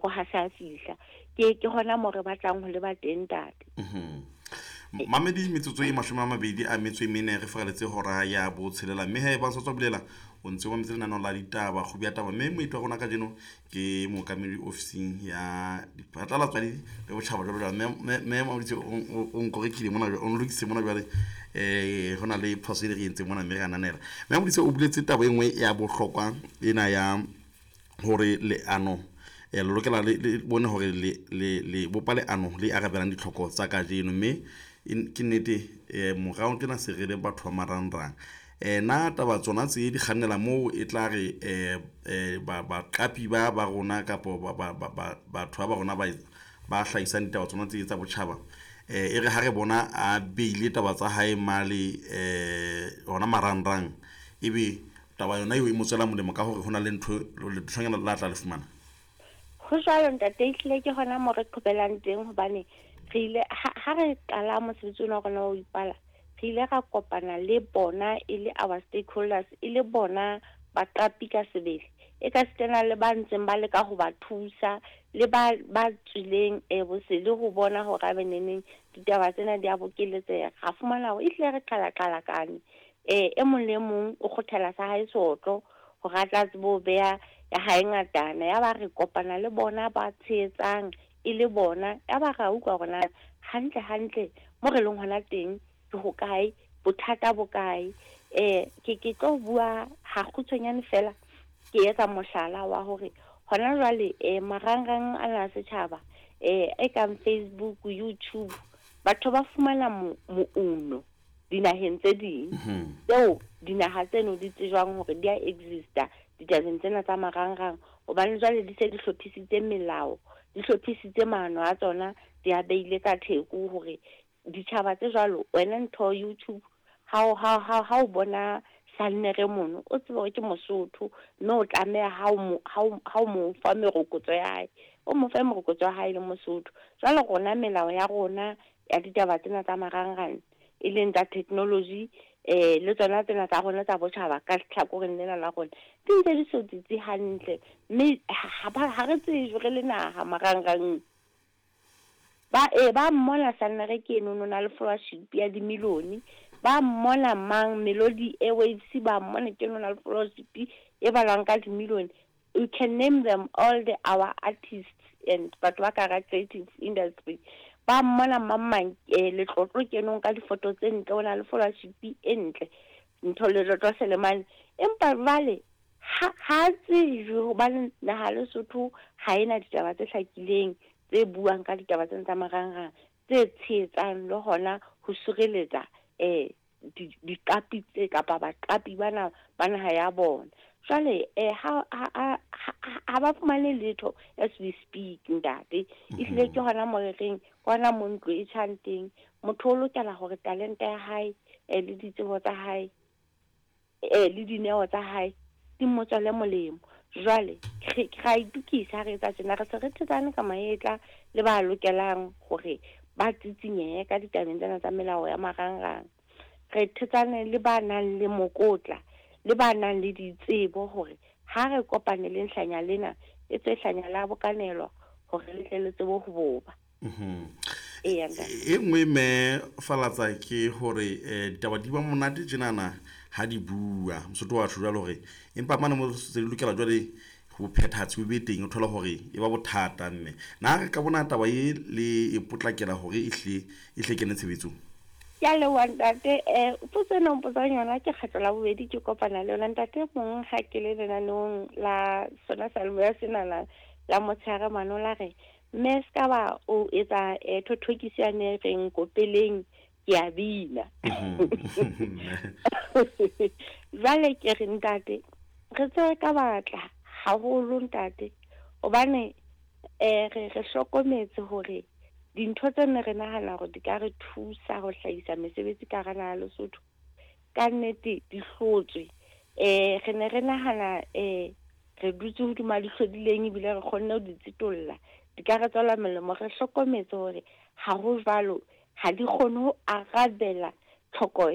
Theko ha se a fihla. Ke hona moo re batlang ho leba teng, ntate. Mamedi, metsotso e 24 re faraletse hora ya botshelela, mme ha e ba sa tswa bulela o ntse o mametse lenaneo la ditaba kgubi ya taba, mme moeti wa rona kajeno ke mookamedi ofising ya diphatlalatso le botjhaba jwalo jwalo. Mme Mauditse o nkorekile mona, o nlokisitse mona jwale, ho na le phoso e le re entseng mona, mme re ananela. Mme Mauditse o buletse taba e nngwe ya bohlokwa ena ya hore leano le lokela le bone hore le bopa leano le arabelang ditlhoko tsa kajeno, mme ke nnete morao tjena se re le batho ba marangrang. Na taba tsona tse di kgannela moo e tla re baqapi ba rona kapo batho ba rona ba hlahisang ditaba tsona tse tsa botjhaba, e re ha re bona a beile taba tsa hae male hona marangrang, ebe taba yona eo e mo tswela molemo ka hore ho na le ntho lethonyana la tla le fumana? Ho jwalo, ntate, ehlile ke hona moo re qhobelang teng, hobane re ile ha re qala mosebetsi ona wa rona wa ho ipala, re ile ra kopana le bona e le our stakeholders, e le bona baqapi ka sebele, e ka sitana le ba ntseng ba leka ho ba thusa, le ba tswileng bosele ho bona hore a beneneng ditaba tsena di a bokeletseha. Ra fumana hore ehlile re qala-qalakane, e mong le mong o kgothela sa hae seotlo hore a tla tsebe ho beha ya hae ngatana. Ya ba re kopana le bona ba tshehetsang e le bona, ya ba ra utlwa hore na hantle hantle mo re leng hona teng ke hokae, bothata bo kae. Ke tlo bua ha kgutshwanyane fela, ke etsa mohlala wa hore hona jwale marangrang ana a setjhaba, e kang Facebook, YouTube, batho ba fumana mouno dinaheng tse ding tseo dinaha tseno di tsejwang hore di a exista ditabeng tsena tsa marangrang, hobane jwale di se di hlophisitse melao, di hlophisitse maano a tsona, di a beile ka theko hore ditjhaba tse jwalo, wena ntho YouTube ha o bona Sannere mono, o tsebe hore ke Mosotho, mme o tlameha ha o mo fa merokotso ya hae, o mo fe merokotso ya hae le Mosotho. Jwale rona melao ya rona ya ditaba tsena tsa marangrang, e leng tsa technology, le tsona tsena tsa rona tsa botjhaba ka tlhakoreng lena la rona, di ntse di so tsitsi hantle, mme ha re tsejwe re le naha marangrang. Ba mmona Sannere ke eno, o na le followership ya dimilione, ba mmona mang Melody Airwaves, ba mmona ke eno, o na le followership e balwang ka dimilione. You can name them all, the our artists and batho ba ka hara creative industry, ba mmona mang mang, Letlotlo ke eno ka difoto tse ntle, o na le followership e ntle, ntho Letlotlo Selemane. Empa jwale ha tsejwe, hobane naha Lesotho ha ena ditaba tse hlakileng tse buang ka ditaba tsena tsa marangrang, tse tshehetsang le hona ho sireletsa diqapi tse kapa baqapi bana ba naha ya bona. Jwale ha ba fumane letho as we speak, ntate. Ehlile ke hona mo re reng, ke hona mo ntlo e tjhang teng. Motho o lokela hore talente ya hae, le ditsebo tsa hae, le dineo tsa hae di mo tswele molemo. Jwale ra itukisa ha re etsa tjena, re se re thetsane ka mahetla le ba lokelang hore ba tsitsinyehe ka ditabeng tsena tsa melao ya marangrang. Re thetsane le ba nang le mokotla, le ba nang le ditsebo, hore ha re kopane le nhlanya lena, e tswe hlanya la bokanelwa hore le tle le tsebe ho boba. Eya, ntate. E nngwe mme Falatsa ke hore ditaba di ba monate tjenana ha di bua Mosotho wa tjho jwalo, hore empa mane mo se di lokela jwale ho phethahatse o be teng, o thola hore e ba bothata. Mme na re ka bona taba e le e potlakela hore e hle kene tshebetsong? Ke a leboha, ntate. Potso ena o mpotsang yona ke kgetlo la bobedi ke kopana le yona, ntate. Mong ha ke le lenaneong la sona seyalemoya senana la motshehare mane, o la re, mme se ka ba o etsa thothokiso yane e reng kopeleng ke a bina. Jwale ke re, ntate, re tsebe ka batla haholo, ntate, hobane re hlokometse hore dintho tse ne re nahana hore di ka re thusa ho hlahisa mesebetsi ka hara naha ya Lesotho, ka nnete di hlotswe. Re ne re nahana re dutse hodima di hlodileng, ebile re kgonne ho di tsitolla, di ka re tswela molemo. Re hlokometse hore ha ho jwalo, ha di kgone ho arabela tlhoko.